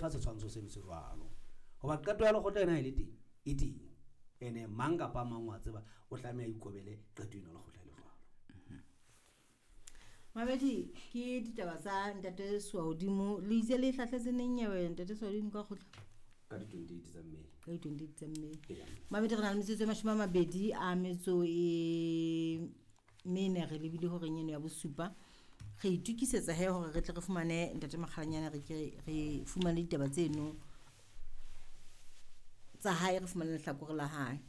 fa setshwantsho seno se jwalo. Hoba qeto ya lekgotla ena e le teng, e teng. Ene mang kapa mang wa tseba o tlameha a ikobele qeto ena ya lekgotla e le jwalo. Mamedi ke ditaba tsa ntate Swahodimo le itse le hlahletse neng nyewe ntate Swahodimo ka kgotla? Ka di-28 tsa May. Ka di-28 tsa May. Eya. Mamedi re na le metsotso e 20 a metso e mene re lebile horeng eno ya bosupa. Re itukisetsa he hore re tle re fumane ntate Makgalanyane re ke re fumane ditaba tseno tsa hae, re fumane lehlakore la hae.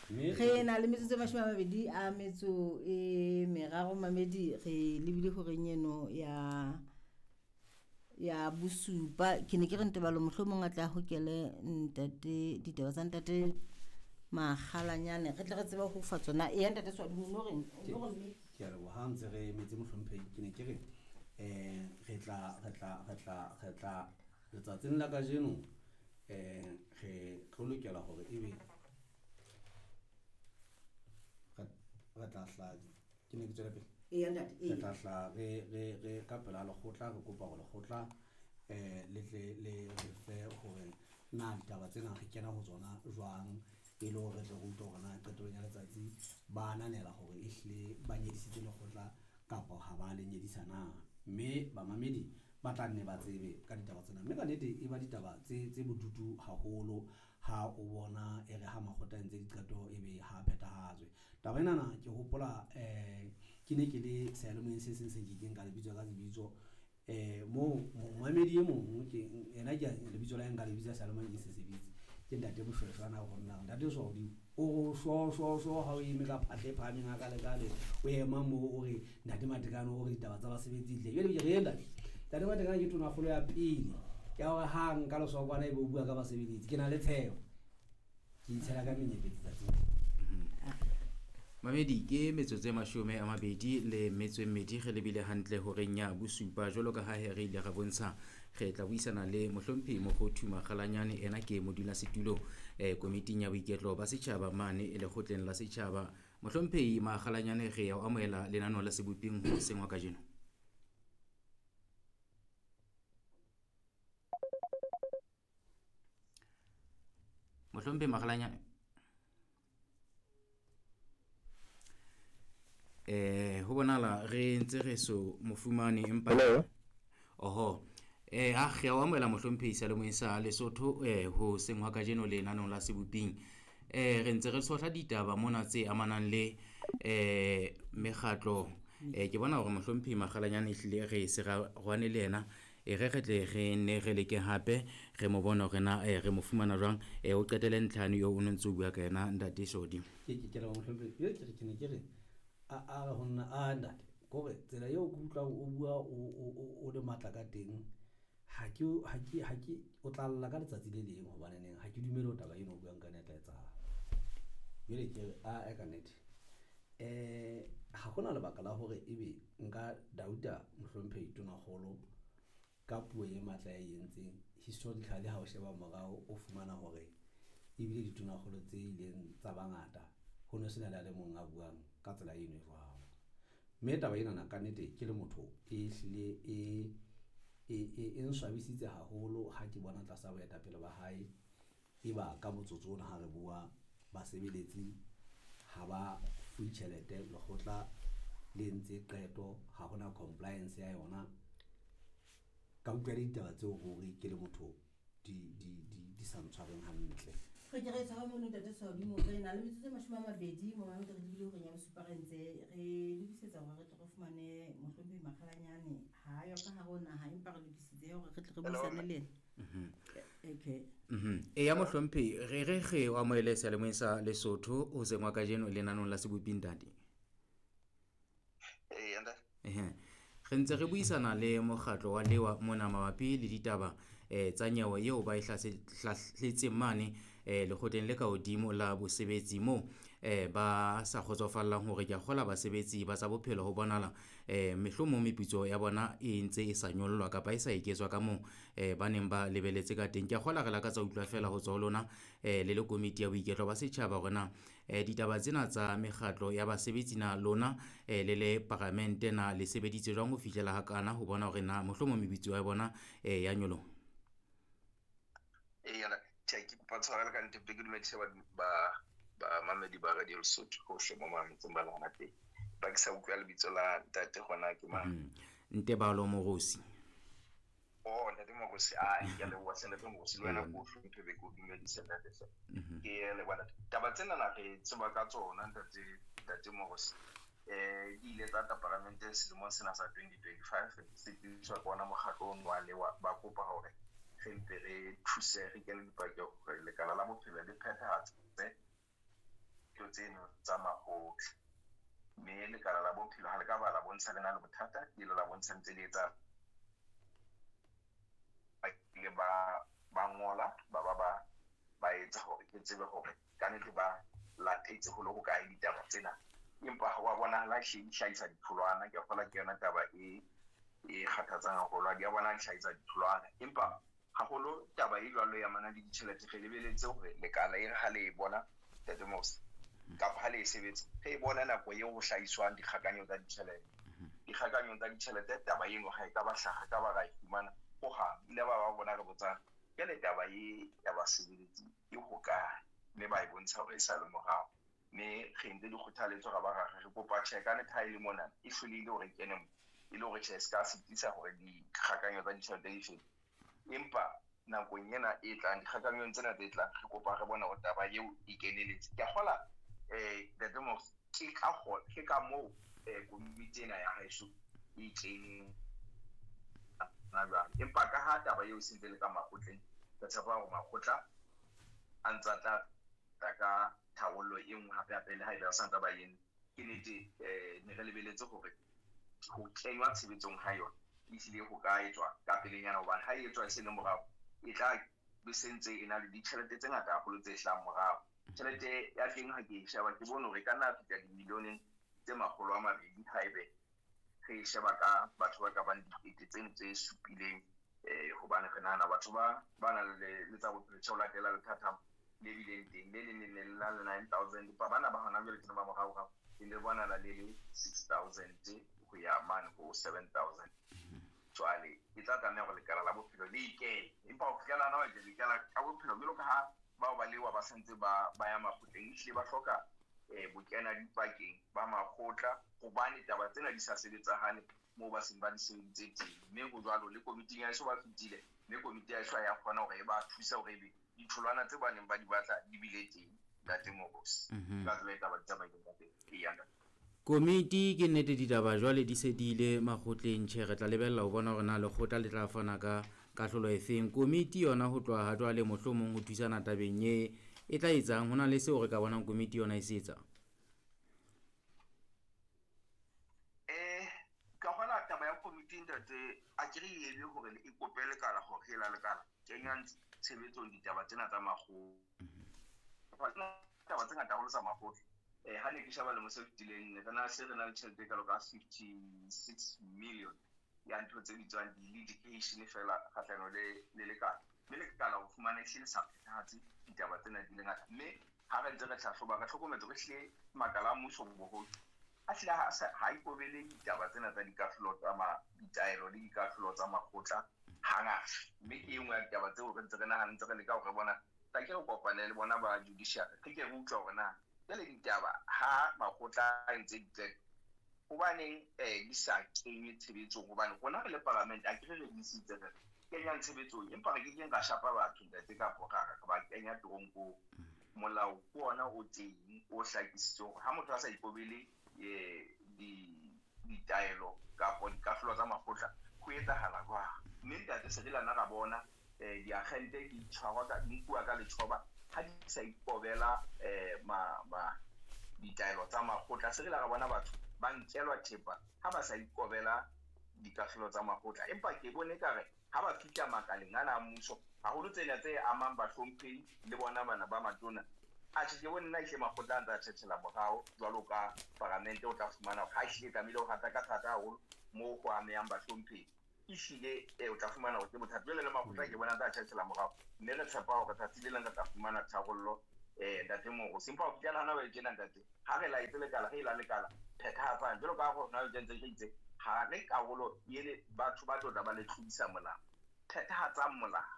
Re na le metsotso e 23 a metso e meraro mamedi re lebile horeng eno ya bosupa. Ke ne ke re Ntebalo mohlomong a tla hokele ntate ditaba tsa ntate Makgalanyane re tle re tsebe ho fa tsona. Eya ntate Swadumo no reng? No reng? Ke a leboha ha ntse re emetse mohlomphehi. Ke ne ke re re tla letsatsing la kajeno re tlo lokela hore ebe re tla hla ke ne ke tswela pele. Eya ntate, Re tla hla re ka pela lekgotla re kopa hore lekgotla le tle le re fe hore na ditaba tsena re kena ho tsona jwang e le hore re tle re utlwe hore na qetellong ya letsatsi ba ananela hore ehlile ba nyedisitse lekgotla kapa ha ba le nyedisa na. Mme bamamedi ba tla nne ba tsebe ka ditaba tsena. Mme ka nnete e ba ditaba tse bodutu haholo ha o bona e re ha makgotla a entse diqeto ebe ha phethahatswe. Taba enana ke hopola ke ne ke le seyalemoyeng se seng se nkekeng ka lebitso ka lebitso moo momamedi e mong ke ena ke lebitso la hae nka lebitsa seyalemoyeng ke se sebitse. Ke ntate Moshweshwe ana ho nna ntate Swahodimo o sho sho sho ha o eme ka phahle e phahameng ha ka le kale o ema moo o re ntate Matekane o re ditaba tsa basebetsi tle. Jwale ke re ntate ntate Matekane ke tonakgolo ya pele ya hore ha nka lesokwana ebe o bua ka basebeletsi. Ke na le tshepo. Ke itshela ka menyepetsi tsatsing. Mamedi ke metsotso e 22 re lebile hantle horeng ya bosupa. Jwalo ka ha re ile ra bontsha re tla buisana le mohlomphehi Mokgothu Makgalanyane, ena ke modulasetulo komiting ya boiketlo ba setjhaba mane e lekgotleng la setjhaba. Mohlomphehi Makgalanyane, re ya o amohela lenaneo la Seboping hoseng wa kajeno. Mohlomphehi Makgalanyane ho bonahala re ntse re so mofumane empa oho ha re o amohela mohlomphehi seyalemoyeng sa Lesotho ho seng hwa kajeno lenaneo la Seboping. Re ntse re tshohla ditaba mona tse amanang le mekgatlo. Ke bona hore mohlomphehi Makgalanyane ehlile re se ra rwane le yena. Re re tle re nne re leke hape re mo bone hore na re mo fumana jwang. O qetele ntlhane eo o no ntse o bua ka yena ntate Sodi. Ke leboha mohlomphehi. Jwale ke ne ke re a re ho nna a ntate kore tsela eo ke utlwang o bua o le matla ka teng ha ke o tla lla ka letsatsi le leng hobane neng ha ke dumele ho taba eno o buang ka yona e tla etsahala. Jwale ke re a ka nnete ha hona lebaka la hore ebe nka dauta mohlomphehi tonakgolo ka puo e matla ya e entseng. Historically ha o sheba morao o fumana hore ebile ditonakgolo tse ileng tsa bangata ho no sena le a le mong a buang ka tsela eno e jwalo. Mme taba enana ka nnete ke le motho e hlile e nswabisitse haholo ha ke bona tlasa boetapele ba hae e ba ka motsotso ona ha re bua basebeletsi ha ba fuwe tjhelete, lekgotla le entse qeto ha hona compliance ya yona. Ka utlwa le ditaba tseo ruri ke le motho di sa ntshwareng hantle. Re ke re tshwara mono ntate Swahodimo, re na le metsotso e 20 mo mamedi re lebile horeng ya bosupa re ntse re lokisetsa hore re tle re fumane mohlomphehi Makgalanyane. Ha yo ka hare ho naha empa re lokisitse hore re tle re buisane le yena. Okay. Eya mohlomphehi re re re o amohele seyalemoyeng sa Lesotho hoseng wa kajeno lenanong la Seboping ntate. Eya ntate. Re ntse re buisana le mokgatlo wa Lewa mona mabapi le ditaba tsa nyewe eo ba e hlahletseng mane lekgotleng le ka hodimo la bosebetsi moo ba sa kgotsofallang hore ke a kgola basebetsi ba tsa bophelo ho bonahala mehlomong meputso ya bona e ntse e sa nyollwa kapa e sa eketswa ka moo ba neng ba lebeletse ka teng. Ke a kgola re lakatsa ho utlwa feela ho tswa ho lona le le komiti ya boiketlo ba setjhaba hore na ditaba tsena tsa mekgatlo ya basebetsi na lona le le paramente na le sebeditse jwang ho fihlela hakana ho bona hore na mohlomong meputso ya bona ya nyoloha. Eya, tjhe, ke kopa tshwarelo ka nnete, ke dumedise ba bamamedi ba Radio Lesotho hohle mo mametseng ba lona teng. Ba ke sa utlwa lebitso la ntate gona ke mang? Ntebalo Morosi. Oh, ntate Morosi, a ke a leboha hle ntate Morosi, le wena ko hlomphe be ke o dumedise ntate hle. Ke leboha ntate. Taba tsena na re tseba ka tsona ntate ntate Morosi. Di ile tsa tla paramenteng selemong sena sa 2025 se tsebiswa ke ona mokgatlo ono wa lewa ba kopa hore re mpe re thuse re kene dipakeng hore lekala la bophelo le phethahatse dilo tseno tsa makgotla. Mme lekala la bophelo ha le ka ba la bontsha le na le bothata, le ile la bontsha ntse le etsa ba ile ba ngola ba ba ba ba etsa hore ke tsebe hore kannete ba latetse ho le hokae ditaba tsena. Empa ha wa bonahala hle di hlahisa ditholwana. Ke a kgolwa ke yona taba e kgathatsang haholo. Ha di a bona di hlahisa ditholwana. Empa haholo taba e jwalo ya mana le ditjhelete re lebeletse hore lekala e re ha le e bona Ntate Morosi kapa ha le e sebetsa re e bona nako eo ho hlahiswang dikgakanyo tsa ditjhelete. Dikgakanyong tsa ditjhelete taba eno ha e ka ba hlaha ka ba ra e fumana hohang. Ile ba ba bona re botsang jwale taba e ya basebeletsi e hokae, mme ba e bontsha hore e sa le morao. Mme re entse dikgothaletso ra ba ra re kopa tjhe ka nnete ha e le mona e hlolehile hore e kene mo, e le hore tjhe se ka sitisa hore dikgakanyo tsa ditjhelete di fete. Empa nakong ena e tlang dikgakanyong tsena tse tlang re kopa re bone hore taba eo e keneletse. Ke a kgola ntate Morosi ke ka ke ka moo komiti ena ya haeso e keneng hona jwale. Empa ka ha taba eo e sentse le ka makgotleng, re tshepa hore makgotla a ntse a tla tla ka tharollo e nngwe hape hape le ha ebe ba santse ba eme. Ke nnete ne re lebeletse hore ho kenywa tshebetsong ha yona ehlile ho ka etswa ka pelenyana, hobane ha e etswa e se le morao e tla be se ntse e na le ditjhelete tse ngata haholo tse hlahang morao. Tjhelete ya teng ha ke e sheba ke bone hore e ka nna fihla dimilioneng tse 200 haebe re e sheba ka batho ba ka bang dikete tseno tse supileng, hobane re nahana batho ba nang le tsa bophelo tjhe ho latela lethathamo le bileng teng le leng le ne le na le 9,000, empa bana ba hona jwale ke ba moraorao le ne bonahala le le 6,000 ho ya mane ho 7,000. Jwale e tla tlameha hore lekala la bophelo le ikele, empa ho fihlela hona jwale lekala ka bophelo jwalo ka ha bao ba lewa ba santse ba ya makgotleng, ehlile ba hloka bokena dipakeng ba makgotla hobane taba tsena di sa sebetsahale moo ba seng ba di sebeditse teng. Mme ho jwalo le komiting ya heso ba fetile, mme komiti ya heso ha ya kgona hore e ba thuse hore ebe ditholwana tse ba neng ba di batla di bile teng ntate Morosi. Ka tsela e taba di tsamaileng ka teng. Eya ntate. Komiti ke nnete ditaba jwale di se di ile makgotleng, tjhe re tla lebella ho bona hore na lekgotla le tla fana ka kahlolo efeng. Komiti yona ho tloha ha jwale mohlomong ho thusana tabeng e e tla etsang, ho na le seo re ka bonang komiti yona e se etsang? Ka kgola taba ya komiti ntate, a ke re ebe hore e kope lekala hore e la lekala kenyang tshebetsong ditaba tsena tsa makgotla. Taba tse ngata haholo tsa makgotla. Ha ne ke sheba lemo se fetileng re na se re na le tjhelete e kalo ka 56 million ya ntho tse bitswang di-litigation fela kgahlano le lekala. Mme lekala ho fumana ehlile le sa phethahatse ditaba tsena di le ngata. Mme ha re ntse re hlahloba re hlokometse hore ehlile makala a mmuso boholo a hlile ha ikobele ditaba tsena tsa dikahlolo tsa ditaelo le dikahlolo tsa makgotla hangata. Mme ke e nngwe ya ditaba tseo re ntse re nahana ntse re leka hore re bona tla ke re kopane le bona ba judiciary re ke re utlwa hore na jwale ditaba ha makgotla a entse diqeto hobaneng di sa kenywe tshebetsong, hobane rona re le paramente a ke re re disitse re kenyang tshebetsong, empa re kekeng ra shapa batho ntate kapo ra re ba kenya toronkong. Molao ke ona o teng o hlakisitseng hore ha motho a sa ikobele ditaelo kapo dikahlolo tsa makgotla ho etsahala jwang. Mme ntate se re lana ra bona diakgente di tshwarwa ka di nkuwa ka letjhoba ha di sa ikobela ditaelo tsa makgotla. Se re la ra bona batho ba nkelwa thepa ha ba sa ikobela dikahlolo tsa makgotla. Empa ke bone ekare ha ba fihla makaleng ana a mmuso, haholo tsena tse amang bahlomphehi le bona bana ba matona, Atjhe, ke bone nna ehlile makgotla a ntse a tjhetjhela morao jwalo ka paramente, o tla fumana hore ha ehlile tlamehile ho hata ka thata haholo moo ho amehang bahlomphehi. Ehlile o tla fumana hore ke bothata. Jwale le makgotla ke bona a ntse a tjhetjhela morao, mme re tshepa hore tsatsi le leng re tla fumana tharollo ntate Morusi. Empa ho fihlela hona jwale tjena ntate, ha re laetse lekala, re ela lekala phethahatsang jwalo ka ha rona jwale ntse re itse ha re karolo ele batho ba tlo tla ba le tlodisa molao, phethahatsang molao.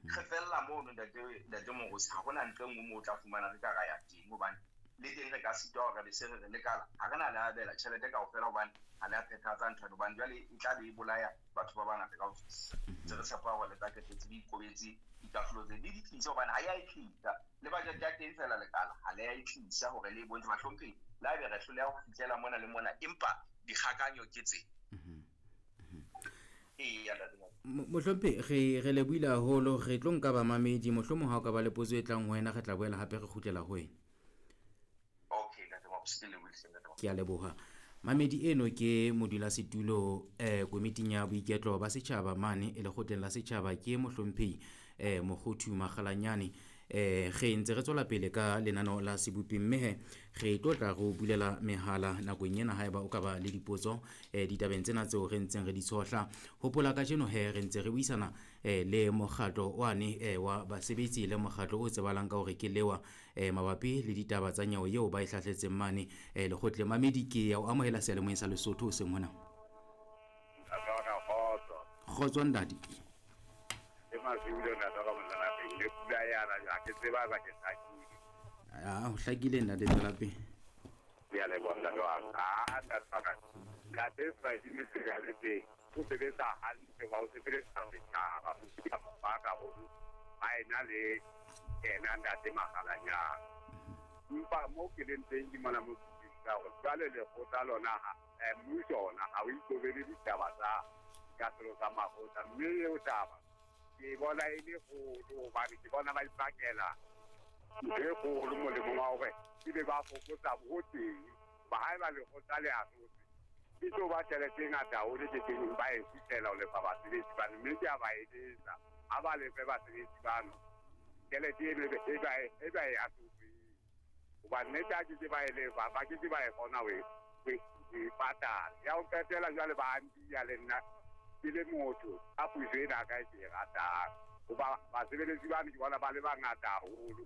Re fella mono ntate Morusi, ha hona ntho e nngwe moo o tla fumana re ka ra ya teng, hobane le teng re ka sitwa hore re be se re re lekala ha re na le abela tjhelete kaofela, hobane ha le a phethahatsa nthwane, hobane jwale e tla be e bolaya batho ba bangata ka ho fetisisa. Ntse re tshepa hore le tla qetetse le ikobetse dikahlolo tse le di tlise, hobane ha ya e tlisa le budget ya teng fela lekala ha le ya e tlisa hore le e bontshe bahlomphehi, le haebe re hloleha ho fihlela mona le mona, empa dikgakanyo ke tse. Mohlomphehi, re lebohile haholo, re tlo nka bamamedi, mohlomong ha o ka ba le potso e tlang ho wena re tla boela hape re kgutlela ho wena. Okay, ntate Mabusi, ke lebohile ntate Mabusi. Ke a leboha. Mamedi eno ke modulasetulo komiting ya boiketlo ba setjhaba mane e lekgotleng la setjhaba, ke mohlomphehi Mokgothu Makgalanyane. Re ntse re tswela pele ka lenaneo la sebopi, mme he re tlo tla re o bulela mehala nakong ena haeba o ka ba le dipotso ditabeng tsena tseo re ntseng re di tshohla. Hopola kajeno he re ntse re buisana le mokgatlo wane wa basebetsi le mokgatlo o tsebahalang ka hore ke lewa mabapi le ditaba tsa nyewe eo ba e hlahletseng mane lekgotleng. Mamedi, ke ya o amohela seyalemoyeng sa Lesotho hoseng hona. Kgotso ntate. Ke Masilo ntate ka mona lapeng, le pula yana ha ke tseba ba ke hlakile. Ah, ho hlakile ntate, tswela pele. Ke a leboha ntate wa ka. Ah, ntate wa ka. Ntate Ibrahim Sekaletse o sebetsa hantle, ba o sebeletsa setjhaba, o sebetsa mabaka haholo. Ha ena le yena ntate Makgalanyane. Empa mo ke leng teng ke mona mo ke utlwisisa hore jwale lekgotla lona ha mmuso ona ha o ikobele ditaba tsa dikahlolo tsa makgotla, mme eo taba ke bona e le kgolo, hobane ke bona ba ipakela ntho e kgolo molemong wa hore ebe ba fokotsa ho teng. Hoba haeba lekgotla le ahlotse, e tlo ba tjhelete e ngata haholo e kekeng ba e fihlela ho lefa basebetsi bano, mme ke a ba eletsa ha ba lefe basebetsi bano tjhelete eno e ba e ahlotseng, hoba nnete ha ke ke ba e lefa, ba ke ke ba e kgona ho e patala. Ya ho qetela jwale ba ntiya le nna ke le motho ka puso ena ka e ke e ratang, hoba basebeletsi bano ke bona ba le bangata haholo,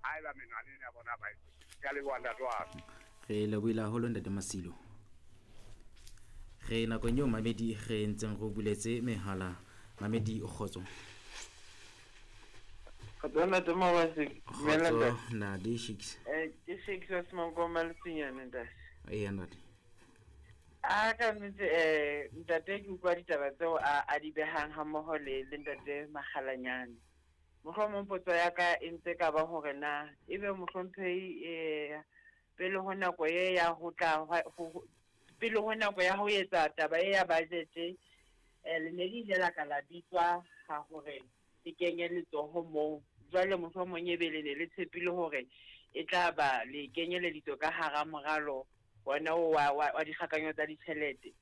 haeba menwana ena ya bona ba e. Ke a leboha ntate wa ka. Re lebohile haholo ntate Masilo. Re nakong eo mamedi re ntseng re o buletse mehala. Mamedi, kgotso. Kgotso ntate Mabase, dumela Kgotso ntate. ntate Shakes. Ke Shakes wa Semonkoma Letsinyane ntate. Eya ntate. A ka nnete ntate ke utlwa ditaba tseo a di behang ha mmoho le ntate Makgalanyane. Mohlomong potso ya ka e ntse ka ba hore na ebe mohlomphehi pele ho nako e ya ho tla pele ho nako ya ho etsa taba e ya budget le ne le ile la ka la bitswa ha hore le kenye letsoho moo. Jwale mohlomong ebe le ne le tshepile hore e tla ba le kenyeleditswe ka hara moralo wona o wa dikgakanyo tsa ditjhelete.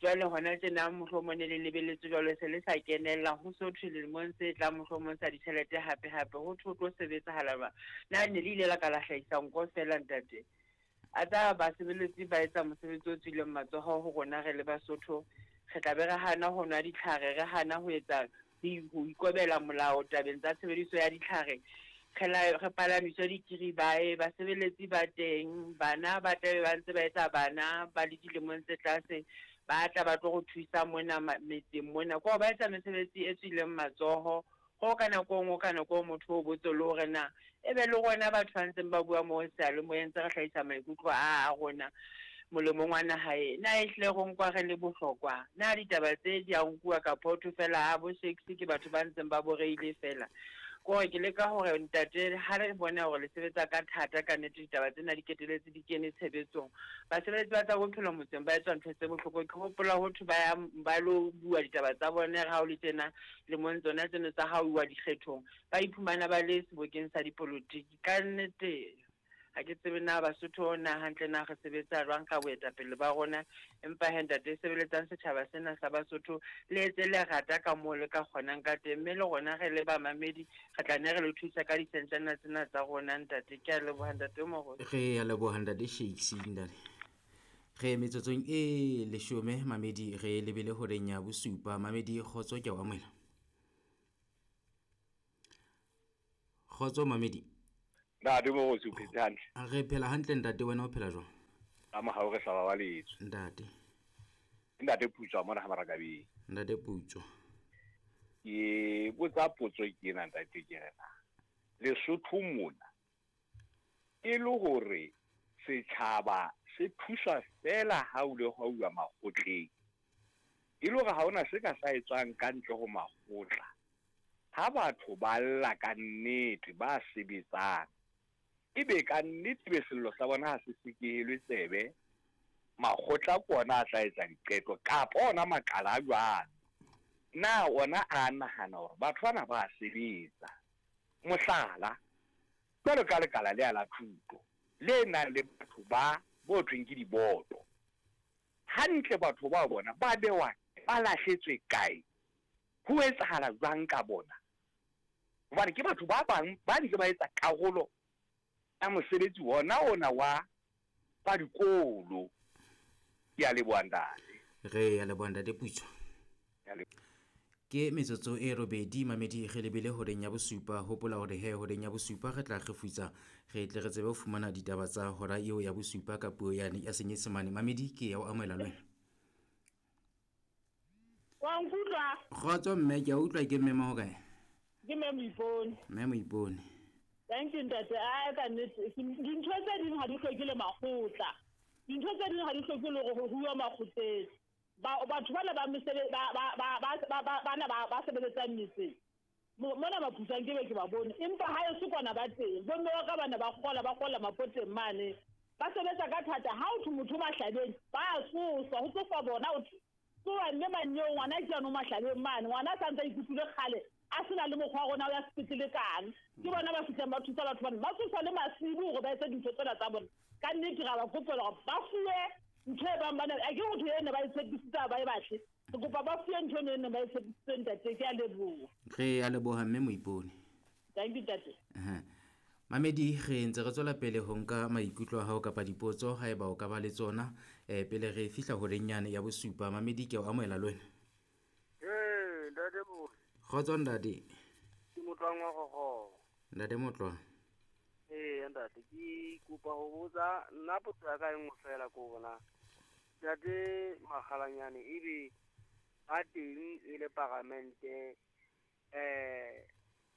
Jwale hona tjena mohlomong ne le lebelletse jwalo se le sa kenella ho so thwe lemong se tlang mohlomong sa ditjhelete hape hape ho thwe ho tlo sebetsahala jwang. Na ne le ile la ka la hlahisa nko feela ntate? A tsa basebeletsi ba etsa mosebetsi o tswileng matsoho ho rona re le Basotho, re tla be re hana ho nwa ditlhare, re hana ho etsa ho ikobela molao tabeng tsa tshebediso ya ditlhare, re palamiswe dikiribae, basebeletsi ba teng, bana ba tlabe ba ntse ba etsa bana ba le dilemong tse tlase, ba tla ba tlo go thusa mona metseng mona. Ko ba etsa mesebetsi e tswileng matsoho, ho ka nako e nngwe ka nako e motho o botse le hore na ebe le rona batho ba ntseng ba bua mo seyalemoyeng tse re hlahisa maikutlo a rona molemong wa naha e. Na ehlile re nkwa re le bohlokwa? Na ditaba tse di a nkuwa kapa ho thwe fela a bo Shakes ke batho ba ntseng ba boreile fela? Kore ke leka hore ntate ha re bona hore le sebetsa ka thata ka nnete ditaba tsena di keteletse di kene tshebetsong. Basebeletsi ba tsa bophelo motseng ba etswa ntho tse bohloko. Ke hopola ho thwe ba ya ba lo bua ditaba tsa bona re ha o le tjena lemong tsona tseno tsa ha uwa dikgethong, ba iphumana ba le sebokeng sa dipolotiki. Ka nnete Ha ke tsebe na Basotho na hantle na re sebetsa jwang ka boetapele ba rona, empa he ntate sebeletsang setjhaba sena sa Basotho le etse lerata ka moo le ka kgonang ka teng, mme le rona re le bamamedi re tla ne re le thusa ka disentjana tsena tsa rona ntate. Ke a leboha ntate Moholo. Re a leboha ntate Shakes ntate. Re metsotsong e 10 mamedi re lebele horeng ya bosupa. Mamedi kgotso ke a o amohela. Kgotso mamedi. Ntate Moruti o phetse hantle. Re phela hantle ntate, wena o phela jwang? Ka mohau re sa babaletswe. Ntate. Ntate Putswa mona ha Marakabeng. Ntate Putswa. Ke botsa potso ke ena ntate ke re na. Lesotho mona e le hore setjhaba se thuswa fela ha o le hwa uwa makgotleng. E le hore ha hona se ka sa etswang ka ntle ho makgotla. Ha batho ba lla ka nnete ba sebetsang, ebe ka nnete be sello sa bona ha se sekehelwe tsebe, makgotla ke ona a tla etsa diqeto kapa ona makala a jwalo. Na ona a nahana hore batho bana ba sebetsa? Mohlala, jwalo ka lekala lea la thuto le nang le batho ba bo thweng ke diboto, hantle batho ba bona ba bewa ba lahletswe kae? Ho etsahala jwang ka bona? Hobane ke batho ba bang ba ntse ba etsa karolo ya mosebetsi wona ona wa ba dikolo. Ke a leboha ntate. Re a leboha ntate Putswa. Ke metsotso e 8 mamedi re lebile horeng ya bosupa. Hopola hore he horeng ya bosupa re tla kgefutsa, re tle re tsebe ho fumana ditaba tsa hora eo ya bosupa ka puo yane ya Senyesemane. Mamedi ke ya o amohela le wena. Wa nkutlwa? Kgotso mme, ke a utlwa. Ke mme ma hokae? Ke mme Moipone. Mme Moipone. Thank you ntate. A ka nnete dintho tse ding ha di hloke le makgotla. Dintho tse ding ha di hloke le hore ho huwa makgotleng. Batho bana ba ba bana ba sebeletsang metseng mona ba pusang ke be ke ba bone, empa ha e se kwana ba teng. Bomme wa ka bana ba kgola mapoteng mane, ba sebetsa ka thata. Ha o thwe motho mahlabeng ba tsoswa, ho tsoswa bona o tsoa mme manyeo ngwana ke yano mahlabeng mane, ngwana sa ntse a ikutlwile kgale a sena le mokgwa wa rona o ya sepetlele kang. Ke bona ba fihlang ba thusa batho bana, ba tsoswa le masibu hore ba etse dintho tsena tsa bona. Ka nnete ra ba kopela hore ba fuwe ntho e bang bana a ke motho ene ba e tshepisitse ba e batle. Re kopa ba fuwe ntho eno ene ba e tshepisitse ntate. Ke a leboha. Re a leboha mme Moipone. Thank you ntate. Mamedi re ntse re tswela pele ho nka maikutlo a hao kapa dipotso haeba o ka ba le tsona pele re fihla horeng yane ya bosupa. Mamedi ke o amohela le wena. Ntate Moruti. Kgotso ntate. Ke Motlwang wa Kgokgo. Ntate Motlwang. Ntate ke kopa ho botsa nna potso ya ka e nngwe fela ko bona. Ntate Makgalanyane ebe ba teng e le paramente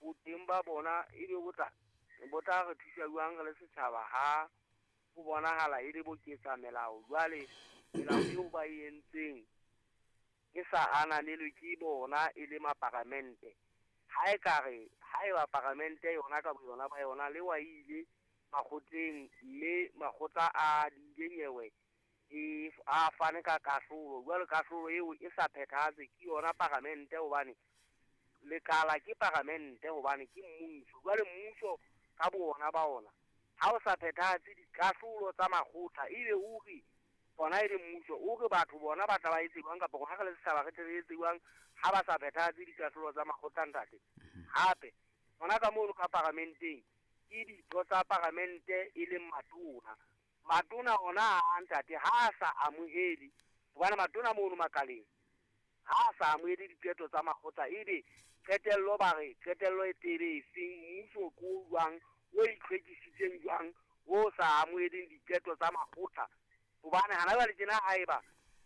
boteng ba bona ebe bo tla re thusa jwang re le setjhaba ha ho bonahala e le boketsa melao? Jwale melao eo ba e entseng e sa ananelwe ke bona e le maparamente. Ha e ka re ha eba paramente yona ka boyona ba yona le wa ile makgotleng, mme makgotla a diile nyewe e a fane ka kahlolo. Jwale kahlolo eo e sa phethahatswe ke yona paramente, hobane lekala ke paramente, hobane ke mmuso. Jwale mmuso ka bona ba ona ha o sa phethahatse dikahlolo tsa makgotla, ebe o re bona e le mmuso o re batho bona ba tla ba etse jwang, kapa rona re le setjhaba re tle re etse jwang ha ba sa phethahatse dikahlolo tsa makgotla ntate? Hape bona ka mono ka paramenteng ke ditho tsa paramente e leng matona. Matona ona a ntate ha a sa amohele, hobane matona mono makaleng ha a sa amohele diqeto tsa makgotla, ebe qetello ba re qetello e tebe efeng? Mmuso ke o jwang o itlhwekisitseng jwang o sa amoheleng diqeto tsa makgotla? Hobane hana jwale tjena haeba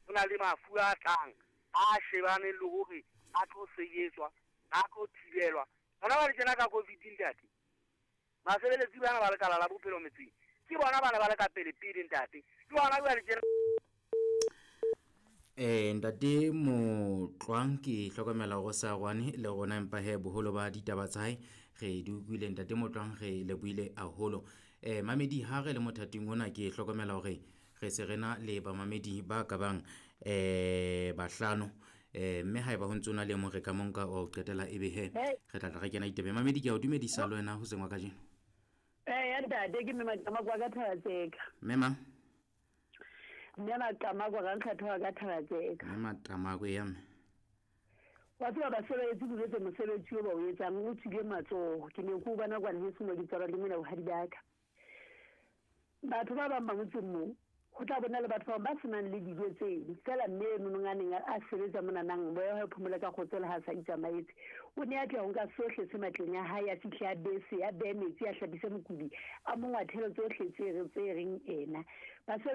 ho na le mafu a tlang a shebaneng le hore a tlo sebetswa, a tlo thibelwa. Hona jwale tjena ka COVID ntate, basebeletsi bana ba lekala la bophelo metseng ke bona bana ba le ka pele pele ntate. Ke bona jwale tjena. Ntate Motlwang ke hlokomela hore sa rwane le rona, empa he boholo ba ditaba tsa hae re di utlwile. Ntate Motlwang re lebohile haholo. Mamedi ha re le mothating ona ke hlokomela hore re se re na le bamamedi ba ka bang bahlano, mme haeba ho ntso na le mong re ka monka o qetela ebe he re tla re kena ditaba. Mamedi ke a o dumedisa le wena hoseng wa kajeno. Ntate, ke mme Maqamako wa ka Thabatseka. Mme mang? Mme Maqamako Rankgatho wa ka Thabatseka. Mme Maqamako ya mme. Wa tseba basebeletsi ke jwetse mosebetsi o ba o etsang o tswile matsoho. Ke ne ke o bona kwana heso mo ke tswalwa le mona bohadi ba ka. Batho ba bang ba motseng moo ho tla bona le batho ba bang ba senang le dijo tseno. Feela mme eno a neng a sebetsa monanang, moya wa hae o phomole ka kgotso le ha a sa itsamaetse. O ne a tla ho nka sohle se matleng a hae, a fihle a bese, a behe metsi, a hlapise mokudi, a mo ngwathele tsohle tse reng ena. Basebetsi